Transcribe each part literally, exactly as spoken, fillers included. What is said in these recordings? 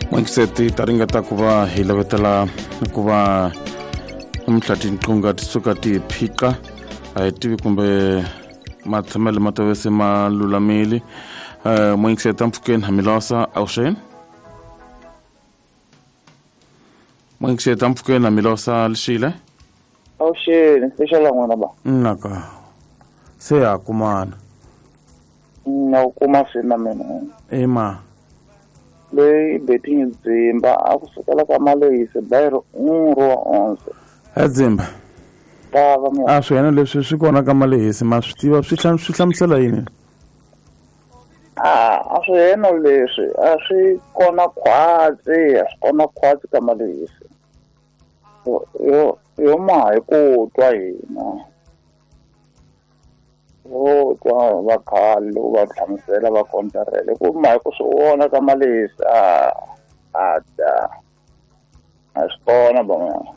N'wankiseti ta ringeta ku va hi lavetela ku va namuntlha tinqunga ti suka ti phiqa a hi tivi kumbe matshamelo ma tave se ma lulamile. um N'wankiseti mpfhukeni hamilosa avuxeni. N'wankiseti mpfhukeni hamilosa lixile. Avuxeni special n'wana ba. Naka se ya kumana. Na ku kuma swina mina. Ema. Leyi betting dzimba a ku sukela ka malehisi bayiro unro wa onse. Edzimba. Tava mina. A swi yena leswi swi kona ka malehisi ma swi tiva swi swi hlamusela yini? A a swi yena leswi a swi kona khwatsi a swi kona khwatsi ka malehisi. Yo yo ma hi ku twa hina. Yo twa va khale va hlamusela va kontarele ku ma hi ku swi vona ka malehisi a a ta a swi kona ba mina.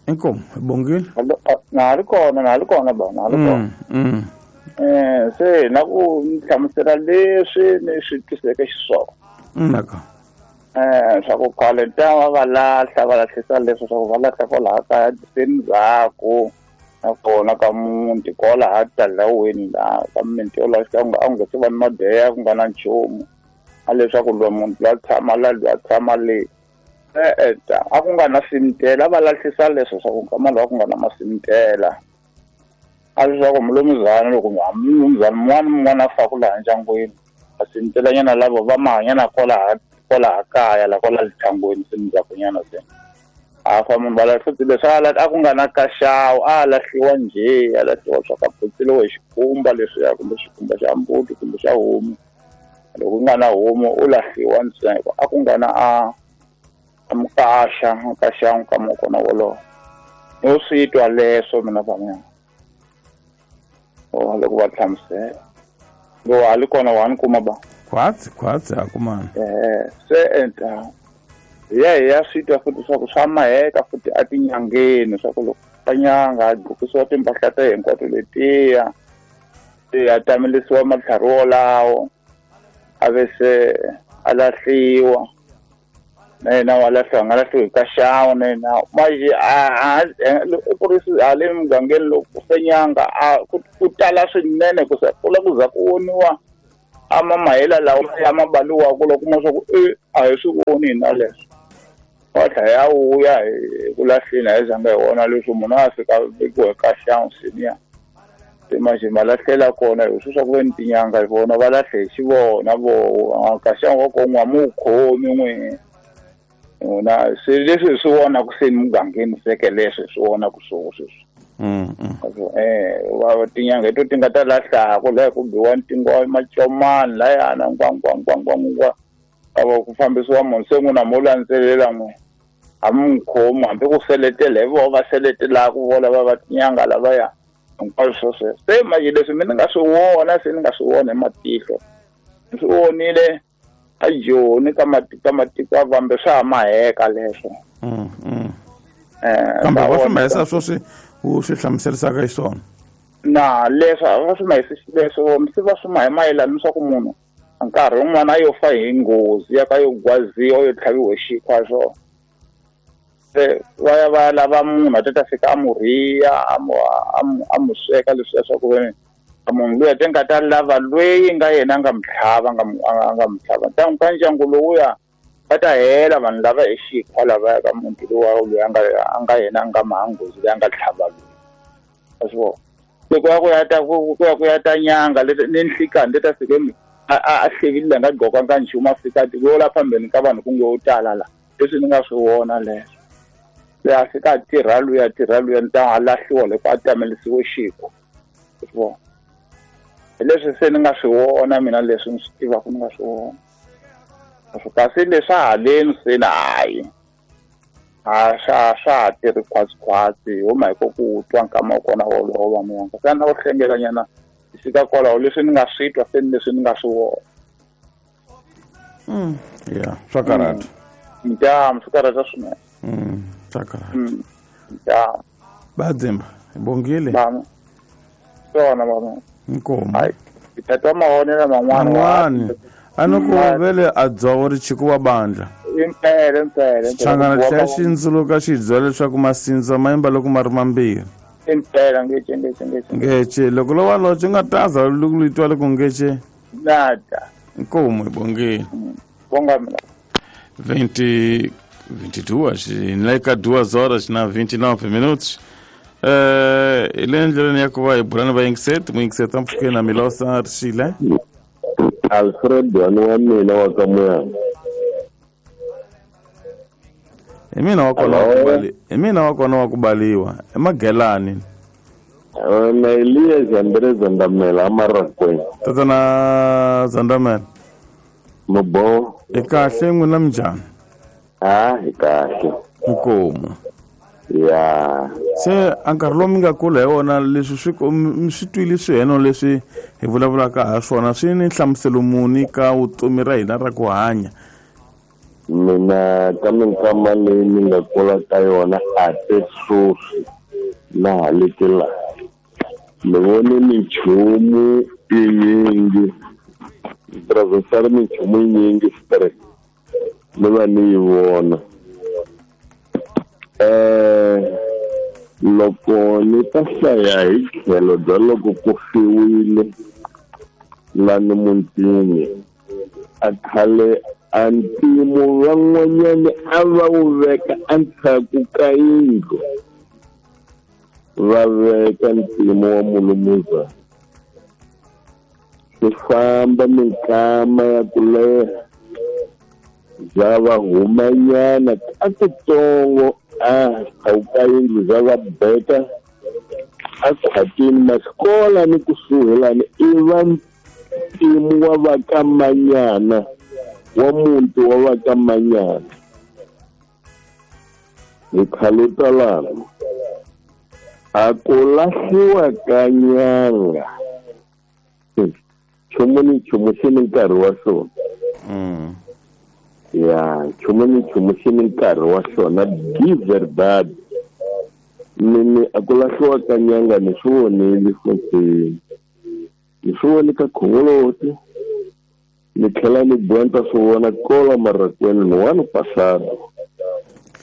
Inkomu bongile. Na ri kona na ri kona ba na ri kona. Mm. Eh se na ku hlamusela leswi ni swi twiseke xiswona. Naka. Eh swa ku khale ta va va lahla va lahlisa leswi swa ku va lahla kwalaha kaya ndzhaku nakona ka muti kwalaha talaweni laha ka mimiti yolaha a ku nga se va ni madeya ku nga na nchumu a leswaku loyi munhu loyi a tshama la loyi a tshama le e-e ta a ku nga na simtela va lahlisa leswo swa ku nkama lowu a ku nga na masimtela a leswaku mulomuzana loko mulomuzana mun'wana mun'wana a faku laha ndyangwini masimtelanyana lavo va mahanyana kwalaha kwalaha kaya la kwala lithangweni se ndzhakunyana se a fa munhu va lahla leswi a a ku nga na kaxawu a lahliwa njhe a lahliwa swa ka phutseliwa hi xikhumba leswiya kumbe xikhumba xa mbuti kumbe xa homu loko ku nga na homu u lahliwa ntsena a ku nga na a mukasha mukasha nkama kona wolowo no swi twa leswo mina va mina o loko va hlamusela lo a li kona wa ni kuma ba khwatsi khwatsi a kumana eh se enta ya ya swi twa futhi swa ku swa maheka futhi a tinyangeni swa ku loko nyanga a gqokisiwa timpahla ta hinkwato letiya se a tamelisiwa matlhari wolawo a ve se a lahliwa na yena wa lahliwa nga lahliwi hi kaxawu na yena manje a ku ri hale mugangeni loko ku fe nyanga a ku tala swinene ku se ku la ku za ku voniwa a mamahela lawa ya mabaliwaku loko kuma swa ku e a hi swi voni hina leswo wa tlhela ya vuya hi ku lahleni a hi zanga hi vona leswi munhu a fika vekiwa hi kaxawu senior se manje ma lahlela kona hi swi swa ku ve ni tinyanga hi vona va lahle hi xivona vo kaxawu wa ko n'wa mu wu khomi n'we na se leswi hi swi vonaku se mugangeni seke leswi hi swi vonaku swo sweswi. Mm. Eh wa tinyanga hi to ti nga ta lahlaku laha ku biwa ntingo macomani layana ngwa ngwa ngwa ngwa ngwa a va ku fambisiwa munhu se n'wina mo landzelela n'we a mi n'wi khomi hambi ku seletela hi voho va seletelaku vo lava va tinyanga lavaya hinkwaswo swo sweswo se manje leswi mi ni nga swi vona se ni nga swi vona hi matihlo ni swi vonile a Joni ka matiko matiko a vambe swa ha maheka leswo. Mm. Mm. Eh kambe va swi mahisa swo swi u swi hlamuserisaka xiswona na leswo a va swi mahisi leswo se va swi mahi mayelana swa ku munhu nkarhi wun'wana a yo fa hi nghozi ya ka yo gwaziwa yo tlhaviwa hi xikhwa swona se va ya va ya lava munhu a ta ta fika a mu rhiya a mu a mu sweka leswiya swa ku veni munhu luya te nga ta lava loyi nga yena a nga mu tlhava nga a nga mu tlhava ntangu ka ndyangu lowuya va ta hela vanhu lava hi xikhwa lavaya ka muti lowa loyi a nga a nga yena a nga mahanghozi loyi a nga tlhava loyi a swi vona se ku ya ku ya ta ku ya ku ya ta nyanga leti ni nhlikani leti ta fike a a hlevile nga gqokanga nchumu a fika yo la phambeni ka vanhu ku nge wo tala la leswi ni nga swi vona leswo se a fika a tirha luya tirha luya ni ta a lahliwa loko a tamelisiwe xikhwa swi vona hi leswi se ni nga swi vona mina leswi ni swi tivaka ni nga swi vona kasi leswi haleni se na hayi a swa swa ha tirhi khwatsi-khwatsi ho ma hi ko ku twa nkama wa kona wolowo va muyanga se na ku hlengelanyana hi fika kwalaho leswi ni nga swi twa se ni leswi ni nga swi vona. Mm. Yeah, swa karhata. Ntamu swi karhata swinene. Mm, swa karhata. Ntamu. Badzimba, hi bongile. Bama. Swona bama. Inkomu. Hayi. Tata mavonelo man'wana man'wani a ni ku vele a dzovo ri chikuwa bandla impela impela xichangana tlhela xi ndzuluka xi byela leswaku masindza ma yimba loko ma ri mambirhi impela ngece ngece ngece ngece loko lo waloce u nga taza loko twa loko ngece nada inkomu hi bongeni bonga mina vinte vinte e duas nleka duas horas na vinte e nove minutos. Eh, ile ndleleni ya ku va hi bulani va yingiseti mu yingiseta mpfhukeni na Milosa Rixile Alfred wani wa mina wa ka Muyana hi mina wa kona wa ku bali hi mina wa kona wa ku baliwa emagelani na Elias Andre Zandamela amarakweni tatana Zandamela Mubo i kahle n'wina minjhani ah hi kahle inkomu ya se a nkarhi lowu mi nga kula hi wona leswi swi mi swi twile swiheno leswi hi vulavulaka ha swona swi ni nhlamuselo muni ka vutomi ra hina ra ku hanya mina ka minkama leyi ni nga kula ka yona a te sweswi na ha leti laha ni vone minchumu yinyingi ni minchumu yinyingi straight ni va ni yi vona eh loko ni ta hlaya hi tlhelo bya loko ku fiwile lani mutini a khale a ntimo van'wanyani a va wu veka endzhaku ka yindlu va veka ntimo wa mulumuza swi famba minkama ya ku leha bya va humanyana ka kutsongo a ka yindlu bya va beka a khwatini masikola ni kusuhi lani i va ntimu wa va ka manyana wa muti wa va ka manyana hi khaluta lana a ku lahliwa ka nyanga nchumu ni nchumu xi ni nkarhi wa xona ya nchumu ni nchumu xi ni nkarhi wa xona di verdade mini a ku lahliwa ka nyanga ni swi vonile futhi ni swi vone ka khongoloti ni tlhela ni boha swi vona kola marakweni ni wani pasado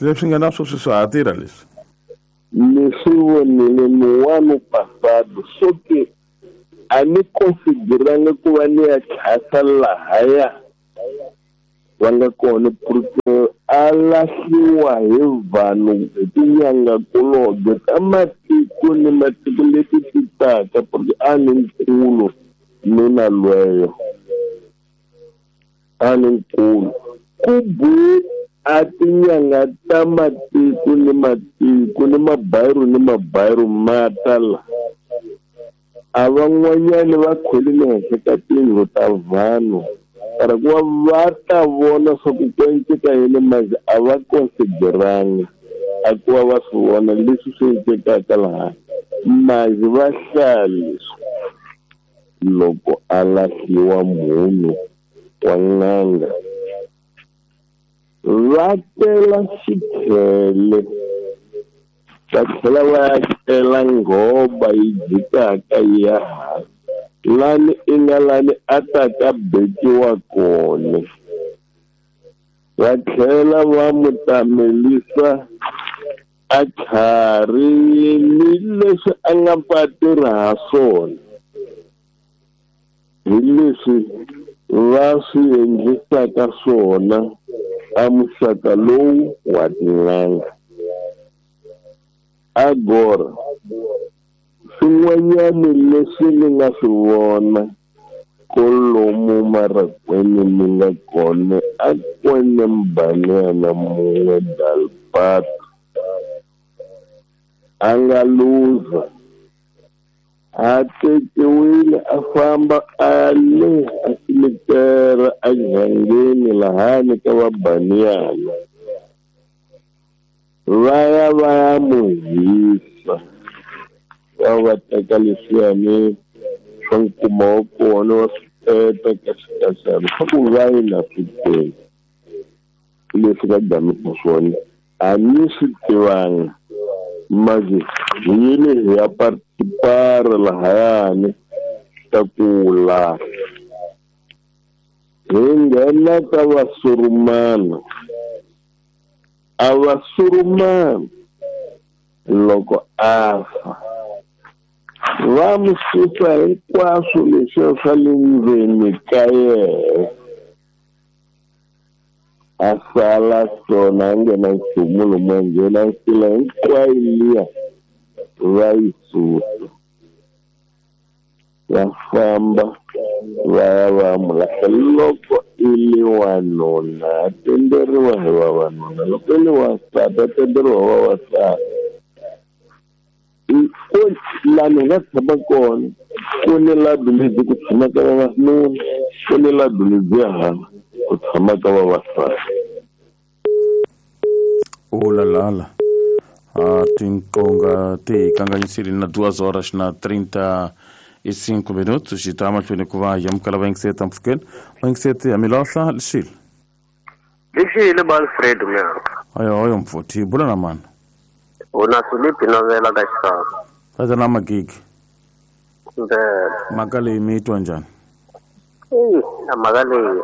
leswi nga na sweswi swa ha tirha leswi ni swi vonile ni wani pasado so ke a ni konsideranga ku va ni ya tlhasa lahaya va nga kona porque a lahliwa hi vanhu hi tinyangakulobye ta matiko ni matiko leti ti taka porque a ni nkulu nuna lweyo a ni nkulu ku bu a tinyanga ta matiko ni matiko ni mabayiru ni mabayiru ma ta la a van'wanyani va khwelile henhla ka tiyindlu ta vanhu para ku va va ta vona swa ku ku enceka yini manje a va konsideranga a ku va va swi vona leswi swi encekaka laha manje va hlaya leswi loko a lahliwa munhu wa n'anga va tela xikhele va tlhela va ya cela nghoba yi jikaka yi ya hansi lani i nga lani a ta ka bekiwa kona va tlhela va mu tamelisa a tlhari ni leswi a nga pa tirha ha swona hi leswi va swi endlisaka swona a muxaka lowu wa tin'anga agora swin'wanyani leswi ni nga swi vona kolomu marakweni ni nga kona a kwene mbanyana mun'we dalpata a nga luza a tekiwile a famba a le a simitera enhangeni lahani ka vabaniyana va ya va ya mu hisa va va teka leswiyani swa nkuma wa kona wa swi teta ka xikaxana swa ku va yi na swi tele leswi va gamisa swona a ni swi tivanga manje hi yile hi ya participar lahayani ta ku lahla. Hi nghena ka vasurumana. A vasurumana loko a fa va mi susa hinkwaswo leswiya swa le ndzeni ka yehe, a sala swona a nge na nchumu lomu a nghena nsila hinkwayo liya va yi susa, va famba va ya va mu lahla. Loko i li wanuna a tenderiwa hi vavanuna, loko i li wansati a tenderiwa hi vavasati. Ko lani hi nga tshama kona ku ni labi lebyi ku tshamaka vavanuna, ku ni labi lebyiya hala ku tshamaka vavasati. Ulalala a tinqonga ti hi kanganyisile na duas horas na trinta e cinco minutos. Xi ta mahlweni ku va yamukela vayingiseti mpfhukeni. Vayingiseti ya milahla lixile. Lixile ba Alfred mnyaka. Ayo ayo mfuthi bula na mani. Una Filipi novela ka xisaka. Tata na magigi. Ndlela. Mhaka leyi mi yi twa njhani? Eyi, na mhaka leyi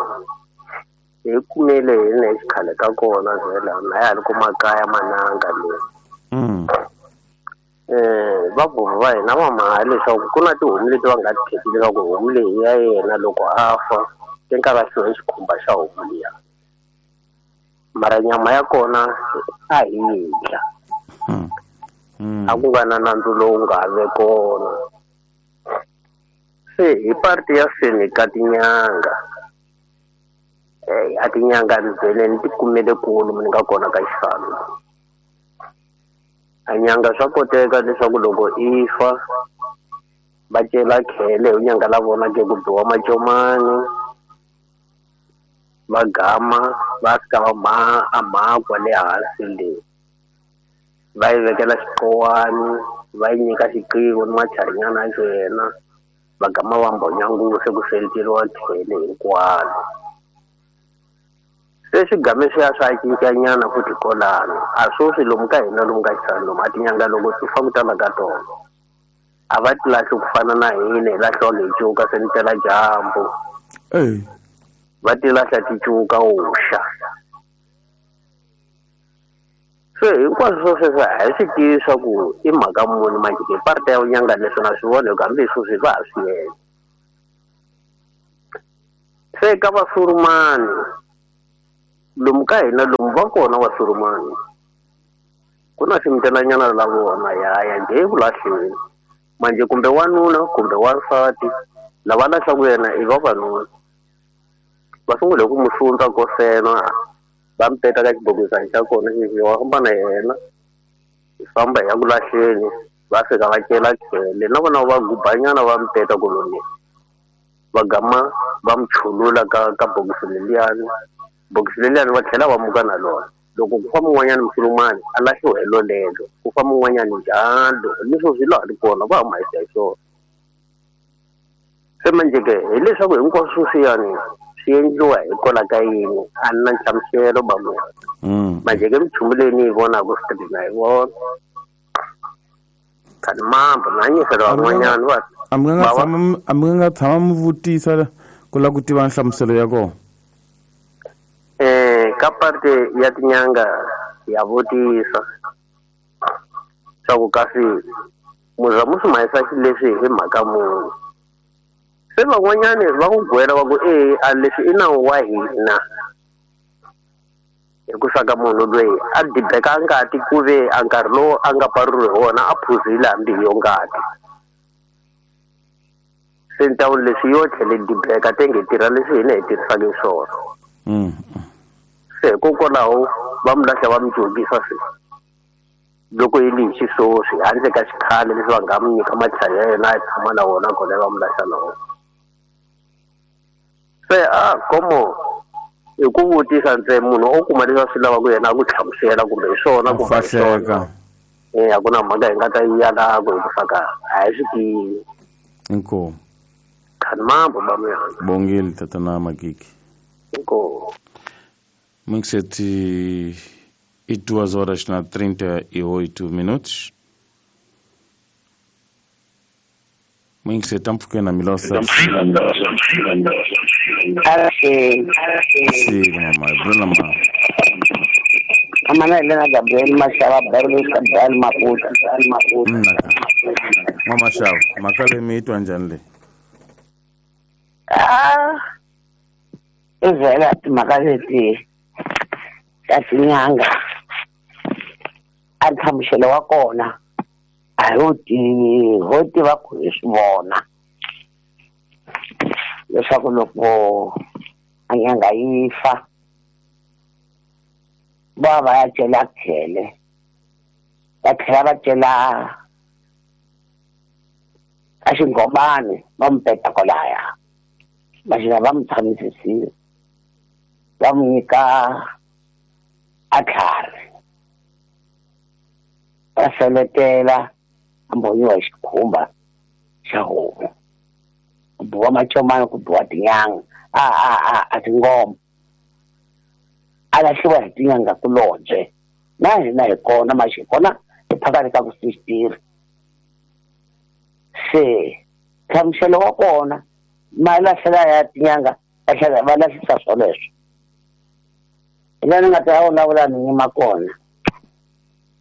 hi kumele hi na xikhale ka kona vhela na ya ha ri ku makaya mananga leyi. Mm. Eh, vabuvi va hina va mhaka leswaku ku na tihomu leti va nga ti kheti leswaku homu leyi ya yena loko a fa ti nga lahliwa hi xikhumba xa homu liya. Mara nyama ya kona a hi yi dya. Mm. Mm. A ku nga na nandzu lowu nga ve kona. Se hi parti ya seni ka tinyanga. Eh, a tinyanga ndzele ni ti kumele kulu ni nga kona ka xifalo. A nyanga swa koteka leswaku loko i fa va cela khele hi nyanga la vona ke ku biwa macomani va gama va fika va ma a makwa le hansi le, va yi vekela xiqowani, va yi nyika xiqivo ni macharinyana ya yena, va gama va mbonya nguvu se ku seliteriwa khele hinkwalo. Se swigame swi ya swa cincanyana futhi kolano a swoswi lomu ka hina lomu ka xisana lomu a tinyanga loko ti fa ku tala ka tona a va ti lahli ku fana na hina hi lahliwa hi cuka se ni tela dyambu. Ey. Va ti lahla ti cuka uxa. Se hinkwaswo swo sweswo a hi swi tivi swa ku i mhaka muni manjhe ke parte ya vunyanga leswi na swi vona hi ku hambi hi swoswi va ha swi endla. Se ka vasurumani lomu ka hina lomu va kona vasurumani ku na ximitelanyana la vona ya ya njhe eku lahleni manjhe kumbe wanuna kumbe wansati lava lahlaku yena i vavanuna va sungule ku mu sundza kosena va mi teka ka xibokisana xa kona xexi wa famba na yena hi famba hi ya ku lahleni va fika va cela khele na vona va gubanyana va mi teka koloni va gama va mi chulula ka ka bokisi leliyani. Bokisi leliyani va tlhela va muka na lona. Loko ku fa mun'wanyani musulumani a lahliwa hi lolelo, ku fa mun'wanyani njalo leswo swi laha ri kona va huma hi swona. Se manjhe ke hileswaku hinkwaswo swiyani swi endliwa hikwalaho ka yini a ni na nhlamuselo ba munhu. Manjhe ke minchumu leyi ni yi vonaka street na yi vona khani mambo na nyisela van'wanyani va a mi nga tshama a mi nga tshama mi vutisa ku lava ku tiva nhlamuselo ya kona. Eh, ka parte ya tinyanga ya vutisa swa ku kasi muza mu swi mahisa xileswi hi mhaka muni. Se van'wanyani va ku gwela va ku e a leswi i nawu wa hina hi ku saka munhu loyi a dibeka ngati ku ve a nkarhi lowu a nga paruriwi hi wona a phuzile hambi hi yo ngati. Se ni ta vula leswi yo tlhele dibeka te nge tirha leswi hina hi tirhisaka hi swona. Mm. Se hikokwalaho va mi lahla va mi jokisa se loko yi li hi xiswoswi handle ka xikhale leswi va nga mi nyika matlhari ya yena a tshama na wona kona va mi lahla na wona. Se a komo hi ku vutisa ntsena munhu o kuma leswi a swi lavaka yena a ku hlamusela kumbe hi swona kumbe hi swona. Eh, a ku na mhaka hi nga ta yi yalaka hi ku faka a hi swi tivi. Inkomu. Khani mambo ba mina. Bongile tatana Magigi. Inkomu. Sete e duas horas na trinta e oito minutos. Mwingiseta mpfukeni na milosa. Axe. Mama, bula mama. Amana Elena Gabriel Mashaba Berlu Sabdal Maputa Maputa. Mama Shaba, makale miitwa njani le? Ah. Ivela makale ti. Tatinyanga. Anthamshelo wa kona. A ho ti ho ti va ku swi vona. Leswaku loko a nyanga yi fa va va ya cela khele va tlhela va cela a xingomani va mu peta kwalaya va xina va mu tshamisisile va mu nyika a tlhari va seletela a mbonyiwa hi xikhumba xa homu ku biwa macomani ku biwa tinyanga a a a a tingoma a lahliwa hi tinyanga kulobye na hina hi kona maxi kona hi phakati ka ku sixtiri se nhlamuselo wa kona ma lahlela ya tinyanga va tlhela va lahlisa swoleswo hi laha ni nga ta vulavula ni yima kona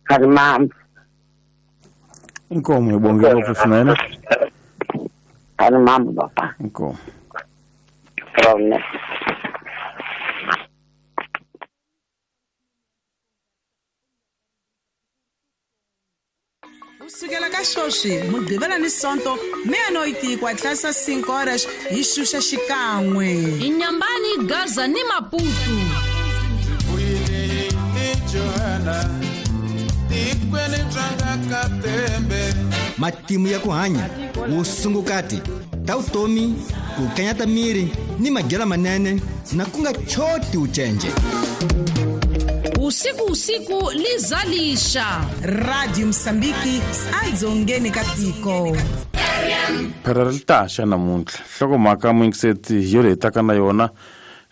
kha ri mamba Inkomo hi bonge ngopfu swinene kha ri mamba papa inkomo rona. Kusukela ka sweswi Mugqivela ni Sonto meia-noite ku atlasa cinco horas hi xuxa xikan'we Inyambani Gaza ni Maputo Matimu ya ku hanya vusungukati ta vutomi ku kanyata miri ni madyelo manene na ku nga choti ucenje usiku usiku lizalisha Radio Msambiki adzongeni ka tiko phera ri taxa namuntlha nhlokomhaka mwingiseti yo leyi taka na yona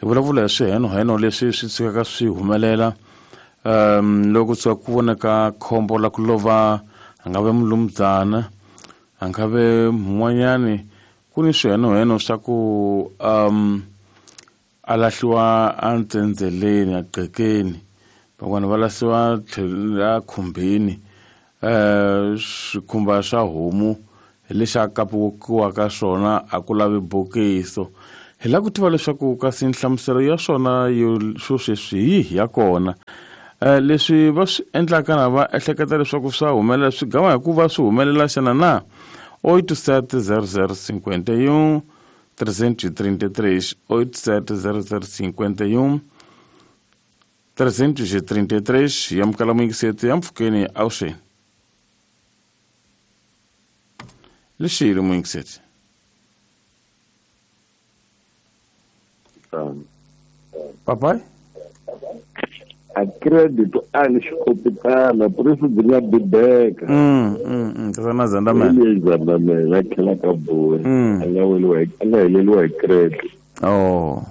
hi vulavula hi swihenoheno leswi swi tshukaka swi humelela um loko tshuka ku voneka khombo la ku lova a nga ve mulumdzana a nga ve mun'wanyani ku ni swihenoheno swa ku um a lahliwa a ntsendzeleni a qhekeni van'wana va lahliwa a khumbini um swikhumba swa homu hi lexi a kapiwaka swona a ku lavi bokiso hi lava ku tiva leswaku kasi nhlamuselo ya swona yo swo sweswi hi yihi ya kona um leswi va swi endlaka na va ehleketa leswaku swa humelela swi gama hikuva swi humelela xana na oito sete zero zero cinquenta e um trezentos e trinta e três oito sete zero zero cinquenta e um trezentos e trinta e três yamukela mwingiseti ya mpfhukeni awuxeni lexile mwingiseti papai a credit a ni xikopitana por isso byi nga bibeka mm mm mm tsana zandamela zandamela a tlhela ka boi a nga weliwa a nga heleliwa hi credit oh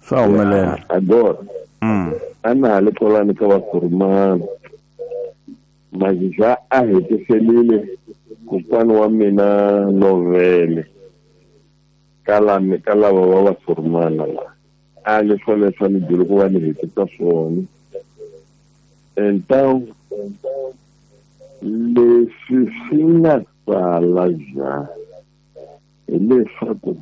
swa humelela agora mm a na ha le kwalani ka vasurumana majiza a hetiselile kokwana wa mina lovele ka lami ka lava va vasurumana la a leswo leswo ni byele ku va ni hetisa swona então leswi swi nga sala ja hileswaku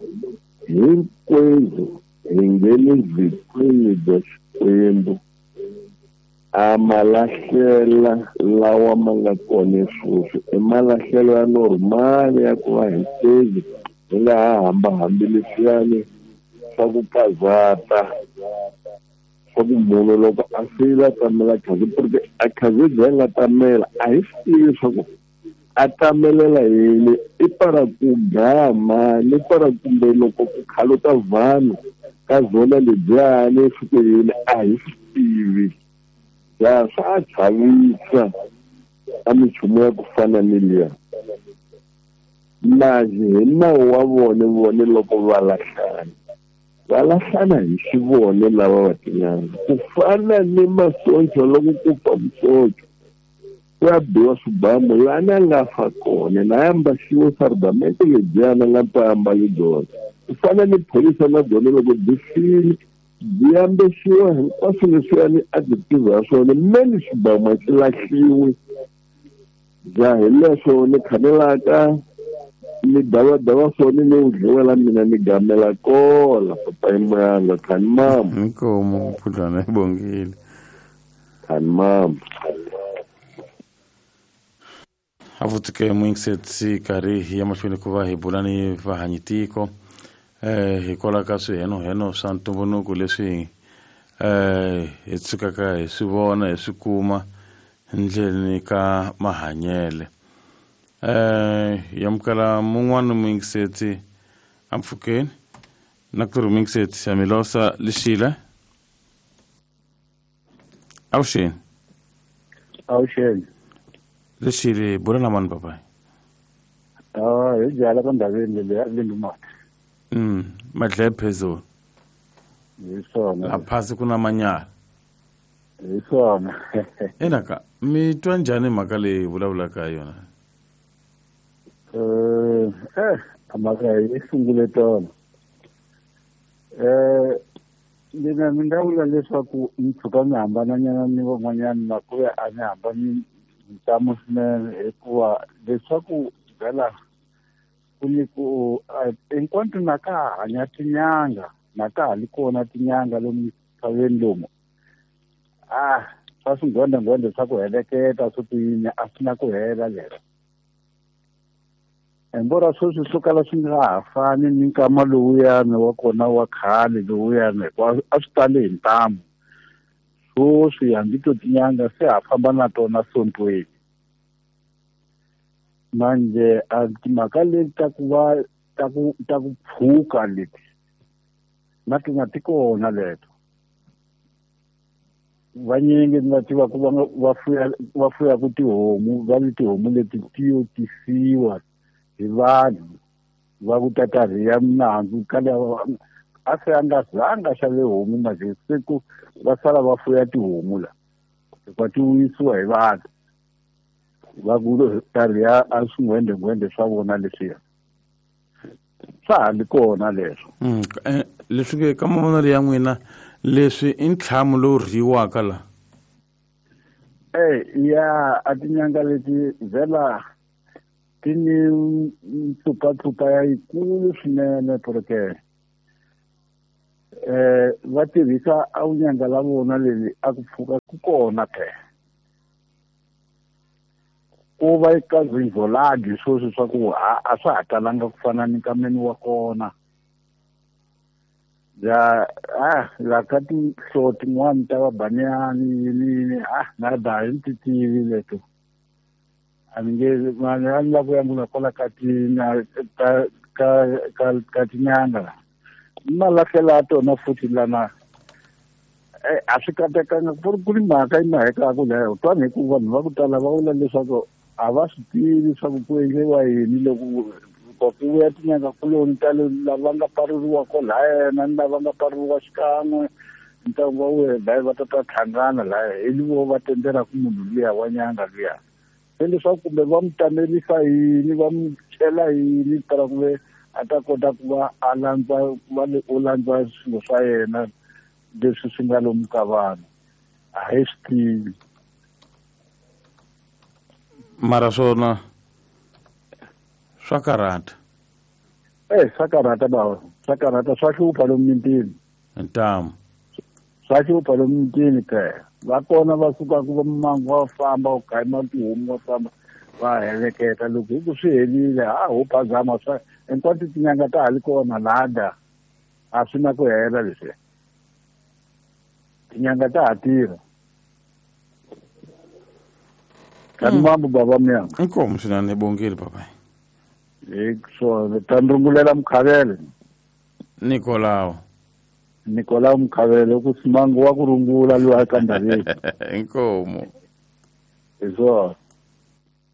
hinkwenu hi nge le vhikweni bya Xikwembu a malahlela lawa ma nga kona sweswi i malahlelo ya normal ya ku va hinkwenu hi nga ha hambahambi leswiyani swa ku kazata swa ku munhu loko a file a tamela khazi porque a khazi leyi nga tamela a hi swi tivi leswaku a tamelela yini i para ku gama ni para kumbe loko ku khaluta vanhu ka zona lebyiyani swi ku yini a hi swi tivi ya swa chavisa a minchumu ya ku fana ni liya manje hi nawu wa vona vone loko va lahlana va lahlana hi xivone lava va tinyanga ku fana ni masocha loko ku fa musocha ku ya biwa swibamu lani a nga fa kona na ya ambaxiwe sardamente lebyiyana nga ta ambali byona ku fana ni phorisa na byona loko byi file byi ambexiwa hinkwaswo leswiyani a byi tiva swona meni swibamu a swi lahliwi bya hi leswo ni khanelaka ni davadava swona ni wu dliwela mina ni gamela kola papa imuyanga khani mama inkomo phudlwana ibongile khani mama avutike mwingisetsi karhi ya mahlweni ku va hi bula ni vahanyitiko eh hikwalaho ka swihenoheno swa ntumbuluko leswi eh hi tshukaka hi swi vona hi swi kuma ndleleni ka mahanyele eh yamukela mun'wana mwingisetsi ampfukeni na ku ri mwingisetsi ya milosa lixile avuxeni avuxeni lexile bula na mani papai ah hi byala ka ndhaveni leyi a lindumati mm madlaya phezulu hi swona la phasi ku na manyala hi swona enaka mi twa njhani mhaka leyi vulavulaka hi yona eh eh mhaka yi sungule tona eh mina ni nga vula leswaku ni tshuka ni hambananyana ni van'wanyana na ku ya a ni hambani ntamu swinene hikuva leswaku vhela ku ni ku hinkwato na ka ha hanya tinyanga na ka ha li kona tinyanga lomu misaveni lomu ah swa swingwendengwende swa ku heleketa swo tiyini a swi na ku hela lero embora sweswi swo kala swi nga ha fani ni nkama lowuyani wa kona wa khale lowuyani hikuva a swi tali hi ntamu sweswi hambi to tinyanga se ha famba na tona sontweni manje a timhaka leti ta ku va ta ku ta ku pfuka leti na tona ti kona leto vanyingi ni va tiva ku va va fuya va fuyaku tihomu va ni tihomu leti ti yo tisiwa hi vanhu va ku tata rhiya minandzu ka lava a se a nga zanga xave homu manje se ku va sala va fuya tihomu la hikuva ti wuyisiwa hi vanhu va ku ta rhiya a swingwendengwende swa vona leswiya swa ha li kona leswo mm leswi ke ka mavonelo ya n'wina leswi i ntlhamu lowu rhiyiwaka la eh ya a tinyanga leti vhela ti ni mpfupapfupa ya yikulu swinene porque eh va tirhisa a vunyanga la vona leli a ku pfuka ku kona ke ku va eka zinzoladi sweswi swa ku a swa ha talanga ku fana ni nkameni wa kona ya ah la ka tinhlo tin'wani ta vabaniyani yini yini ah na da hi ti tivi leto a ni nge mani a ni lava ku yangula kwala ka tina ka ka ka ka tinyanga malahlela tona futhi lana eh a swi katekanga ku ri ku ri mhaka yi mahekaku leyo twani hi ku vanhu va ku tala va vula leswaku a va swi tivi swa ku ku endliwa yini loko ku vuya tinyanga kuloni ta lava nga paruriwa kolaya na ni lava nga paruriwa xikan'we ntlangu wa wena laha va ta ta hlangana laha hi vo va tendelaku munhu luya wa nyanga luya se leswaku kumbe va mu tamelisa yini va mu chela yini tala ku ve a ta kota ku va a landza ku va u landza swilo swa yena leswi swi nga lomu ka vanhu a hi swi tivi mara swona swa karhata eh swa karhata bava swa karhata swa hlupha lomu mintini ntamu swa hlupha lomu mintini ke va kona va sukaku va mangu va famba u gayima tihomu va famba va heleketa loko hi ku swi helile ha ho phazama swa hinkwato tinyanga ta ha li kona lada a swi na ku hela leswi tinyanga ta ha tirha kani mambo baba mnyama inkomo swinene bongile papai hi swona ta ni rungulela Mukhavele Nikolao Nikolao Mukhavele ku simangu wa ku rungula luwa ka ndhaveni inkomo hi swona